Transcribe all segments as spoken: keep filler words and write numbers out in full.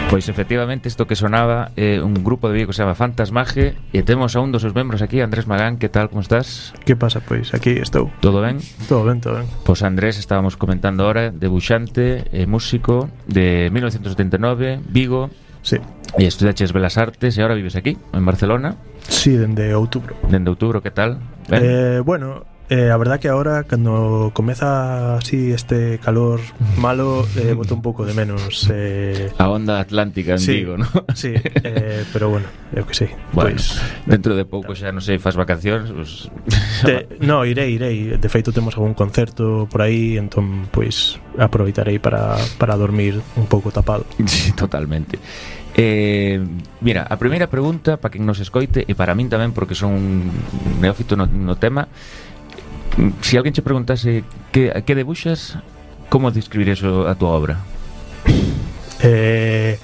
Pois efectivamente isto que sonaba é eh, un grupo de Vigo que se chama Fantasmaje e temos a un dos seus membros aquí, Andrés Magán. Que tal, como estás? Que pasa, pois aquí estou. Todo ben? Todo ben, todo ben. Pois Andrés, estábamos comentando ahora, debuxante e músico de mil novecientos setenta e nove, Vigo. Sí. E estudaches Belas Artes e agora vives aquí, en Barcelona. Sí, dende outubro. Dende outubro, que tal? Ben? Eh, bueno... Eh, a verdad que ahora cando comeza así este calor malo eh, boto un pouco de menos eh... a onda atlántica en sí, Vigo, ¿no? Sí, eh, pero bueno, eu que sei. Bueno, pues, dentro de pouco xa non sei, faz vacacións pues... de, No, irei, irei. De feito temos algún concerto por aí, entón pois aproveitarei para, para dormir un pouco tapado. Sí, totalmente. Eh, mira, a primeira pregunta para quen nos escoite e para min tamén, porque son un neófito no, no tema. Si alguén che preguntase que, que debuxas, como describirías a túa obra? Eh,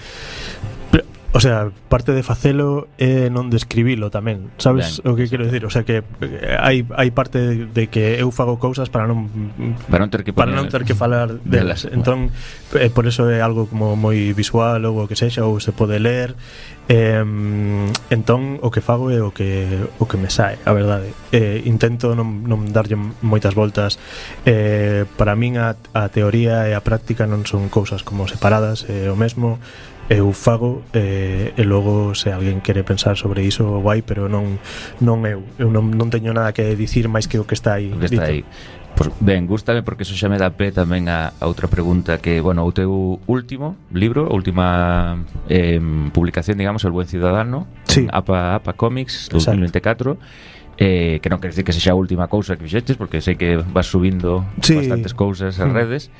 o sea, parte de facelo é non describilo tamén, sabes ben, o que quero decir? O sea que hai hai parte de, de que eu fago cousas para non para non ter que para non ter que falar delas. De entón, eh, por eso é algo como moi visual ou o que sexa, ou se pode ler. Eh, entón o que fago é o que o que me sae, a verdade. Eh, intento non, non darlle moitas voltas. Eh, para min a, a teoría e a práctica non son cousas como separadas, é o mesmo. Eu fago eh, e logo se alguén quere pensar sobre iso guai, pero non non eu. Eu non, non teño nada que dicir máis que o que está aí. O que está aí. Pues, ben, gústame porque eso xa me dá pé tamén a, a outra pregunta que, bueno, o teu último libro, a última eh, publicación, digamos, El Buen Ciudadano, sí. APA, APA Comics dos mil veinticuatro, eh, que non quer decir que sexa a última cousa que fixeches, porque sei que vas subindo sí. bastantes cousas ás redes.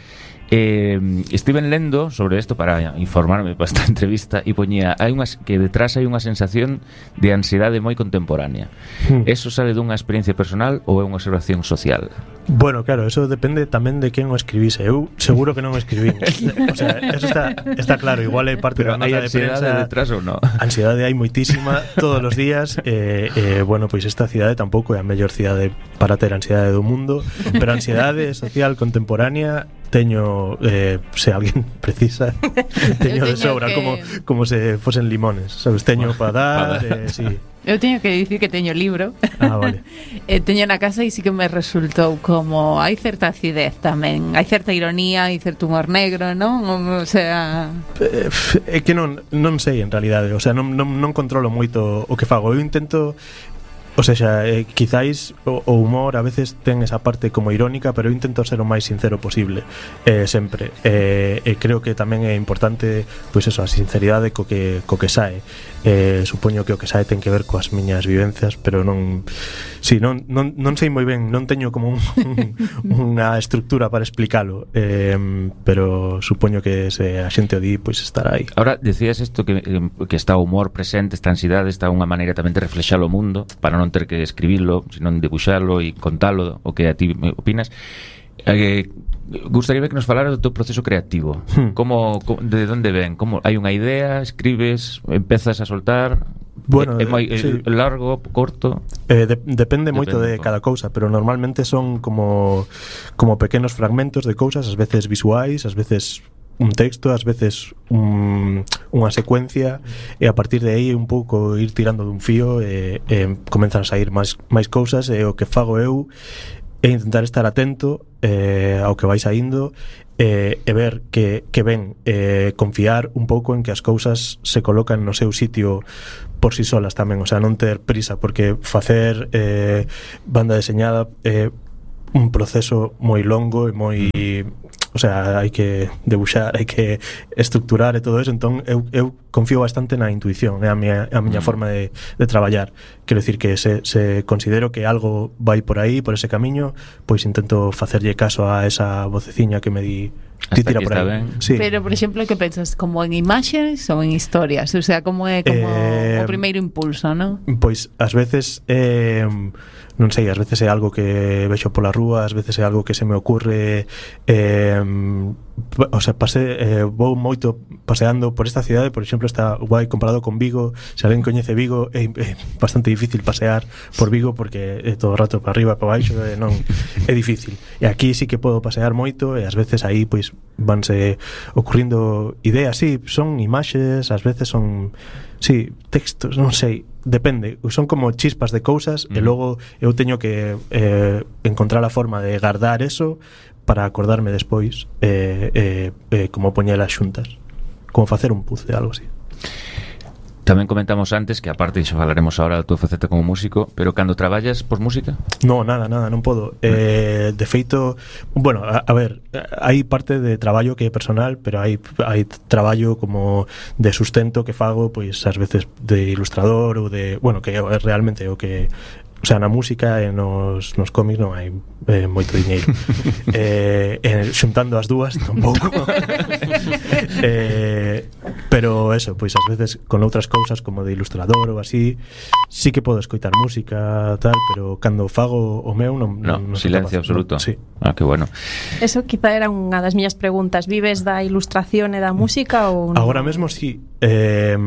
Eh, estive lendo sobre isto para informarme para esta entrevista e poñía hai unhas, que detrás hai unha sensación de ansiedade moi contemporánea. Hmm. Eso sale dunha experiencia personal ou é unha observación social? Bueno, claro, eso depende tamén de quen o escribise. Eu seguro que non o escribín. O sea, eso está, está claro. Igual é parte da nota de prensa. Pero hai ansiedade detrás ou non? Ansiedade hai moitísima todos os días. eh, eh, Bueno, pois esta cidade tampouco é a mellor cidade para ter ansiedade do mundo, pero ansiedade social contemporánea teño, eh, se alguén precisa, teño, teño de sobra, que... como, como se fosen limones, sabes, teño para dar, eh, sí. Eu teño que dicir que teño libro. Ah, vale. eh, Teño na casa e sí que me resultou como hai certa acidez tamén, hai certa ironía, hai certo humor negro, non? O sea, é eh, que non non sei en realidade, o sea, non non non controlo moito o que fago. Eu intento. O sea, eh, quizáis o, o humor a veces ten esa parte como irónica, pero eu intento ser o máis sincero posible, eh, sempre. E eh, eh, creo que tamén é importante, pois eso, a sinceridade co que co que sae. Eh, supoño que o que sae ten que ver coas miñas vivencias, pero non, si, non, non, non sei moi ben, non teño como un, un, unha estructura para explicalo, eh, pero supoño que se a xente o di, pois estará aí. Ahora, decías isto que, que está o humor presente, esta ansiedade, está unha maneira tamén de reflexar o mundo, para non ter que escribirlo, senón debuxarlo e contalo, o que a ti opinas. Eh, gustaría que nos falara do teu proceso creativo. Hmm. Como, como, de onde ven? Como, hai unha idea, escribes, empezas a soltar? Bueno, é, é moi sí. largo, corto? Eh, de, depende, depende moito de un cada cousa, pero normalmente son como como pequenos fragmentos de cousas, ás veces visuais, ás veces un texto, ás veces un, unha secuencia, e a partir de aí un pouco ir tirando dun fío e, e comenzan a sair máis, máis cousas, e o que fago eu é intentar estar atento eh, ao que vai saindo eh, e ver que, que ven, eh, confiar un pouco en que as cousas se colocan no seu sitio por si solas tamén, o sea, non ter prisa, porque facer eh, banda deseñada é eh, un proceso moi longo e moi, o sea, hai que debuxar, hai que estructurar e todo eso, entón eu, eu confío bastante na intuición, é a miña, a miña mm. forma de, de traballar. Quero decir que se, se considero que algo vai por aí, por ese camiño, pois intento facerlle caso a esa voceciña que me di ti tira por aí. Sí. Pero, por exemplo, que pensas? Como en imaxes ou en historias? O sea, como é como eh, o primeiro impulso, non? Pois, ás veces eh, non sei, ás veces é algo que vexo pola rúa, ás veces é algo que se me ocurre, eh, o sea, pasé, eh, vou moito paseando por esta cidade, por exemplo, está guai comparado con Vigo. Se alguén coñece Vigo, é, é bastante difícil pasear por Vigo porque é todo o rato para arriba, para baixo, e non é difícil. E aquí sí que podo pasear moito e ás veces aí pois vanse ocurrindo ideas, sí, son imaxes, ás veces son sí, textos, non sei, depende, son como chispas de cousas mm. e logo eu teño que eh, encontrar a forma de guardar eso para acordarme despois eh, eh, eh, como poñelas xuntas, como facer un puzzle, algo así. Tamén comentamos antes que aparte xo falaremos ahora da tua faceta como músico, pero cando traballas por música? No, nada, nada, non podo. Eh, de feito, bueno, a, a ver, hai parte de traballo que é personal, pero hai hai traballo como de sustento que fago, pois ás veces de ilustrador ou de, bueno, que é realmente o que, o sea, na música e nos, nos cómics non hai eh, moito diñeiro. eh, eh, xuntando as dúas tampouco. eh, pero eso, pois ás veces con outras cousas como de ilustrador ou así, sí que podo escoitar música tal, pero cando fago o meu non, no, non silencio absoluto. No, sí. Ah, que bueno. Eso quizá era unha das miñas preguntas. Vives da ilustración e da música ou non? Agora mesmo sí. Eh,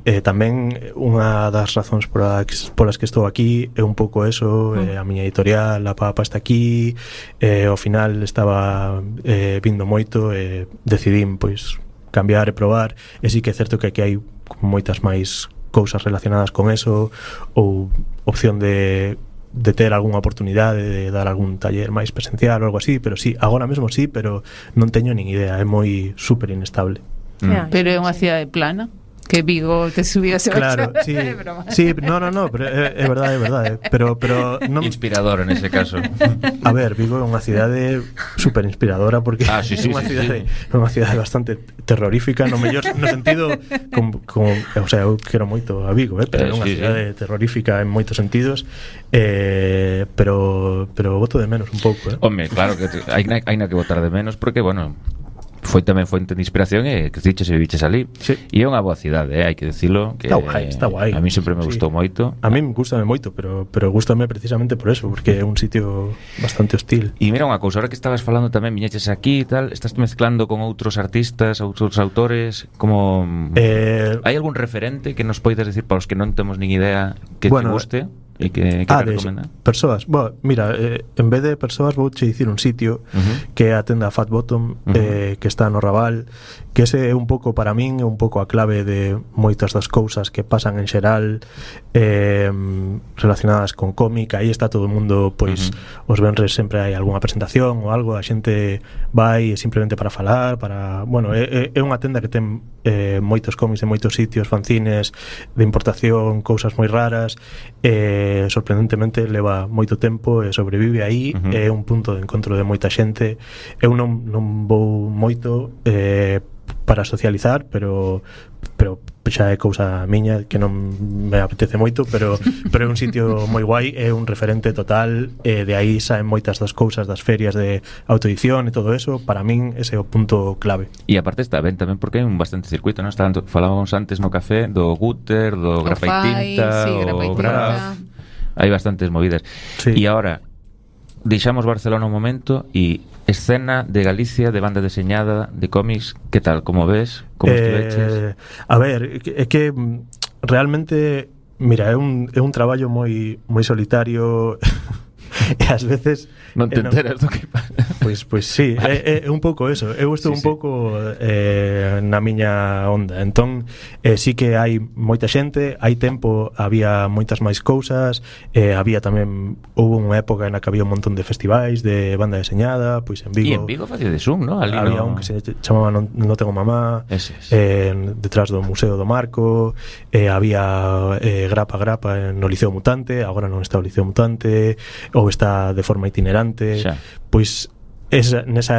eh, tamén unha das razóns polas, polas que estou aquí é un pouco eso, eh, a miña editorial, a Papa está aquí, eh, ao final estaba eh, vindo moito e eh, decidín pois cambiar e probar, e sí que é certo que aquí hai moitas máis cousas relacionadas con eso, ou opción de de ter algunha oportunidade de dar algún taller máis presencial ou algo así, pero sí, agora mesmo sí, pero non teño nin idea, é moi super inestable. Mm. Pero é unha cidade plana, que Vigo te subiu ese claro, sí, sí, no, no, no, pero é, é verdade, é verdade, pero pero non... inspirador en ese caso. A ver, Vigo é unha cidade super inspiradora porque ah, sí, sí, é unha sí, cidade, sí. unha cidade bastante terrorífica no mellor no sentido con, con, o sea, eu quero moito a Vigo, eh, pero é unha sí, cidade sí. terrorífica en moitos sentidos, eh, pero pero boto de menos un pouco, eh. Home, claro que hai na, hai na que botar de menos porque, bueno, foi tamén fonte de inspiración e que diches e viviches ali. Sí. E é unha boa cidade, eh, hai que dicilo, que está guai, está guai. A mí sempre me gustou sí. moito. A mí me gustame moito, pero pero gustame precisamente por eso, porque é un sitio bastante hostil. E mira unha cousa, ahora que estabas falando tamén viñeches aquí e tal, estás mezclando con outros artistas, outros autores, como eh, hai algún referente que nos poidas decir para os que non temos nin idea que bueno, te guste? E que, que ah, recomenda? Persoas, bueno, mira, eh, en vez de persoas vou che dicir un sitio uh-huh. que é a tenda Fat Bottom, uh-huh. eh, que está no Raval, que ese é un pouco para min, é un pouco a clave de moitas das cousas que pasan en xeral eh, relacionadas con cómic. Aí está todo o mundo, pois uh-huh. os venres sempre hai algunha presentación ou algo, a xente vai simplemente para falar, para, bueno, é, é unha tenda que ten eh, moitos cómics de moitos sitios, fanzines de importación, cousas moi raras, eh sorprendentemente leva moito tempo e sobrevive aí, uh-huh. é un punto de encontro de moita xente. Eu non, non vou moito eh, para socializar, pero pero xa é cousa miña que non me apetece moito, pero pero é un sitio moi guai, é un referente total, e de aí saen moitas das cousas das ferias de autoedición e todo eso. Para min ese é o punto clave. E aparte está ben tamén porque hai un bastante circuito, non? Estaban, falábamos antes no café do Gutter, do Grafai Tinta, sí, o Graf. Hai bastantes movidas. Sí. E agora deixamos Barcelona un momento e escena de Galicia de banda deseñada de cómics, que tal? Como ves? Como eh, estiveches? A ver, é que realmente, mira, é un, é un traballo moi moi solitario e ás veces non te enteras do que pasa. Pois, pois sí, é, é un pouco eso. Eu estou sí, un pouco eh, na miña onda. Entón, eh, sí que hai moita xente, hai tempo había moitas máis cousas, eh, había tamén, houve unha época na que había un montón de festivais de banda deseñada, pois en Vigo. E en Vigo facía de Zoom, ¿no? Ali había no... un que se chamaba Non, non tengo mamá, ese, ese. Eh, detrás do Museo do Marco, eh, había eh, Grapa Grapa no Liceo Mutante, agora non está o Liceo Mutante, ou está de forma itinerante. Xa. Pois esa, nesa